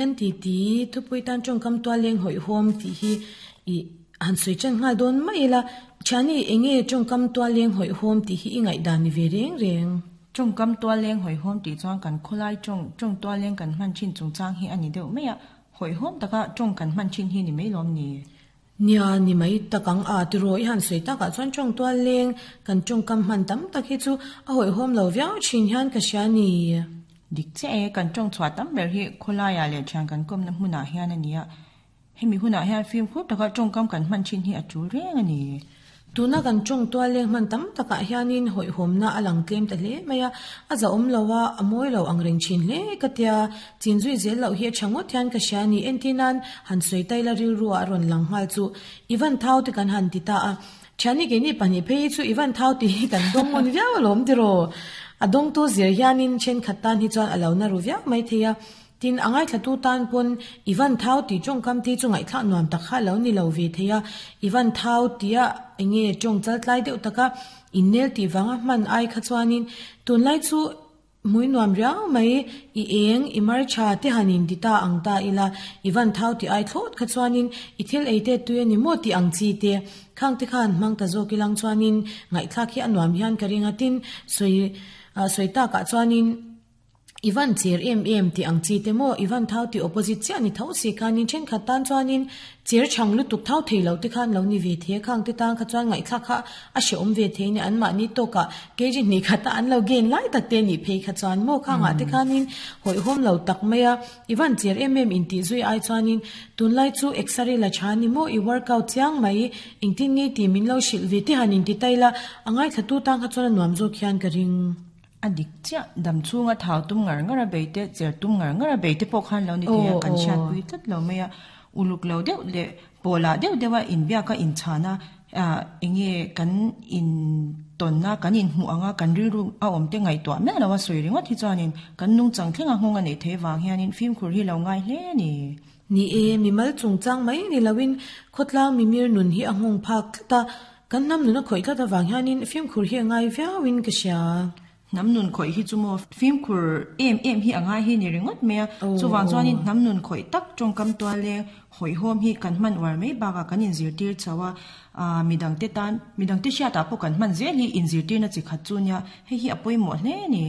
Kan titi thupui tan tawngkam tualleng hawihhawm tih hi ih han sawi tan nghal dawn mai ila, Thiani eng nge tawngkam tualleng hawihhawm tih hi i ngaihdan ni ve reng reng? Tawngkam tualleng hawihhawm tih chuan kan khawlai tawng, tawng tualleng kan hman thin chungchang hi a ni deuh mai a, hawihhawm taka tawng kan hman thin hi ni mai lawm ni? Nia, ni mai tak ang a, tiraw i han sawi takah chuan tawng tualleng kan tawngkam hman tam tak hi chu a hawihhawm lo viau thin hian ka hria ni. Dik chiah e, kan tawng chhuah tam ber hi khawlaiah leh thian kan kawmna hmunah hian a ni a, hemi hunah hian fimkhur taka tawngkam kan hman thin hi a tul reng a ni. Tuna kan tawng tualleng hman tam takah hianin hawihhawmna a lang tlem ta hle mai a, a zahawm lo a, a mawi lo ang reng thin hle ka tia, chin zui zel loh hi a tha ngawt hian ka hria a ni. Entir nan han sawi ta ila rilru ah a rawn lang nghal chu i van thau te kan han ti ta a, thiani keini pahnih phei hi chu i van thau tih hi kan dawng ngawn viau alawm tiraw? A dawngtu zir hianin thenkhat tan hi chuan a lo na ru viau maithei a, Tin, a ngaithlatu tan pawn i van thau tih tawngkam te chu ngaihthlak nuam tak kha lo ni lo ve thei a, i van thau tia enge tawng chal tlai deuh taka innel tih vanga hman ai kha chuanin tunlai chu hmui nuam riau mai, i eng, i mar tha te han in ti ta ang ta ila, i van thau tih ai thlawt kha chuanin i thil ei te tui a ni maw tih ang chi te khang te khan hmang ta zawk ilang chuanin ngaihthlak hi a nuam hian ka ring a, tin, sawi sawi takah chuanin. I van cher em em tih ang chi te maw? I van thau tih opposite chiah ni tho si khanin thenkhat tan chuanin cher chhang lutuk thau thei lo te khan lo ni ve thei a, khang te tan kha chuan ngaihthlak kha a hrehawm ve thei nia anmahni tawkah kg hnih khata an lo gain lai tak te nih phei kha chuan maw khangah te khanin hawihhawm lo tak mai a, i van cher em em intih zui ai chuanin tunlai chu exer-i la tha ni maw i workout chiang mai engtin nge tih min lo hrilh ve te han inti ta ila a ngaithlatu tan kha chuan a nuam zawk hian ka ring. A dik chiah, dam chhunga thau tum ngar ngar a bei te, cher tum ngar ngar a bei te pawh khan lo ni thei a, kan hriatpui tlat lo mai a. Uluk lo deuh leh pawhlah deuh deuh a inbiak a inchhan a, eng nge kan intawn a, kan inhmuh ang a, kan rilru a awm te ngaihtuah miah lo a sawi ringawt hi chuanin kan nungchang thlenga nghawng a neih theih vang hianin fimkhur hi lo ngai hle a ni. Ni e, mimal chungchang mai ni loin khawtlang mimir nun hi a nghawng phak tlat a, Kan hnam nun a khawih tlat avang hianin fimkhur hi a ngai viauin ka hria. Hnam nun khawih hi chu maw fimkhur em em hi a ngai hi ni ringawt mai a. Chuvang chuanin hnam nun khawih tak tawngkam tual leng hawihhawm hi kan hman uar mai bakah kan inzirtir chho a, aah midangte tan midangte hriatah pawh kan hman zel hi inzirtirna chi khat chu nia, hei hi a pawimawh hle a ni.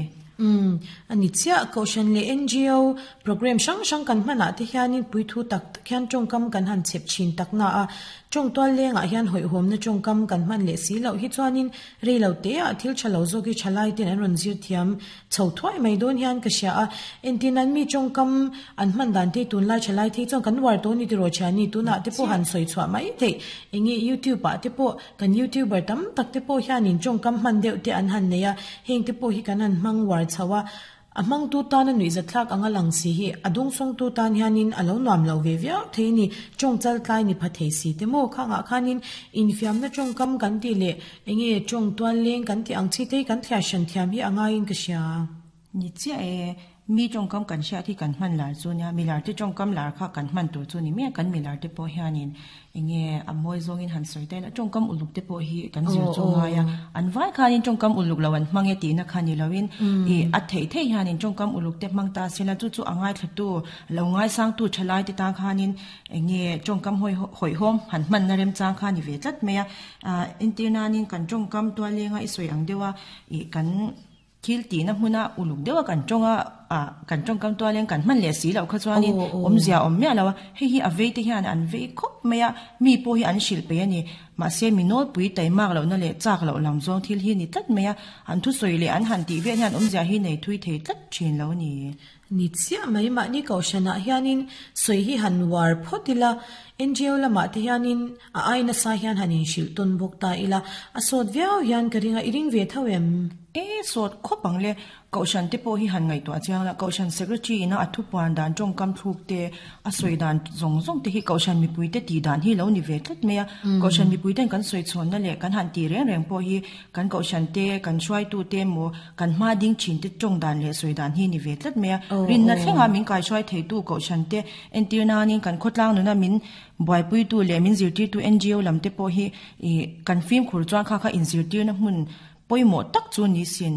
Umm, a ni chiah. Kohhran leh NGO program hrang hrang kan hmanah te hianin puithu tak tak hian tawngkam kan han chhep thin tak na a. Tawng tual lengah hian hawihhawmna tawngkam kan hman leh si loh hi chuanin rei lo teah thil tha lo zawk hi tha lai ten an rawn zir thiam chho thuai mai dawn hian ka hria a. Entin an mi tawngkam an hman dan te tunlai tha lai thei chuan kan uar tawh ni tiraw thiani tunah te pawh han sawi chhuah mai theih. Enge youtube ah te pawh kan youtuber tam tak te pawh hianin tawngkam hman deuh te an han nei a, heng te pawh hi kan han hmang uar chho a. A hmangtu tana nuihzatthlak anga lang si hi a dawngsawngtu tan hianin a lo nuam lo ve viau thei a ni. Tawng chal tlai ni pha thei si te maw? Khangah khanin infiamna tawngkam kan tih leh enge tawng tual leng kan tih ang chi te hi kan thliar hran thiam hi a ngaiin ka hria. Ni chiah e, mi tawngkam kan hriat hi kan hman lar chu nia, milar te tawngkam lar kha kan hman tur chu ni mai a, kan milar te pawh hianin Enge a mawi zawngin han sawi ta ila, tawngkam uluk te pawh hi kan zir chu ngai a, an vai khanin tawngkam uluk lo an hmang e tihna kha ni loin ih a theih theih hianin tawngkam uluk te hmang ta sela chu chu a ngaithlatu lo ngaisangtu thalai te tan khanin enge tawngkam hawi hawihhawm han hmanna remchang kha ni ve tlat mai a, ah entir nanin kan tawngkam tualenga i sawi ang deuha ih kan. Thil tihna hmuna uluk deuha kan tawng a, ah kan tawngkam tualeng kan hman leh si loh kha chuanin awmzia a awm miah lo a, hei hi a vei te hian an vei khawp mai a, mi pawh hi an hrilh peih a ni. Mahse mi nawlpui taimak lohna leh chak loh lam zawng thil hi ni tlat mai a, an thusawi leh an han tih vel hian awmzia hi nei thui thei tlat thin lo a ni. Ni chiah mai, mahni kohhranah hianin sawi hi han uar phawt ila, NGO lamah te hianin a ai nasa hian han inhrilh tawn bawk ta ila, a sawt viau hian ka ring a, i ring ve tho em? E, sawt khawp ang le, kohhran te pawh hi han ngaihtuah chiang la, kohhran secretary ina a thupuan dan tawngkam thluk te, a sawi dan zawng zawng te hi kohhran mipui te tih dan hi lo ni ve tlat mai a, kohhran mipui ten kan sawi chhawnna leh kan han tih reng reng pawh hi Kan kohhran te, kan hruaitu te emaw, kan hma ding thin te tawng dan leh sawi dan hi ni ve tlat mai a. Rinna thlenga min kaihruai theitu kohhran te entir nanin kan khawtlang nuna min buaipuitu leh min zirtirtu NGO lam te pawh hi ih kan fimkhur chuan kha kha inzirtirna hmun pawimawh tak chu ni sin.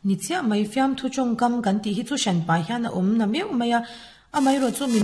Ni chiah mai, fiamthu tawngkam kan tih hi chu hranpa hian a awm na meuh mai a, amaherawhchu min.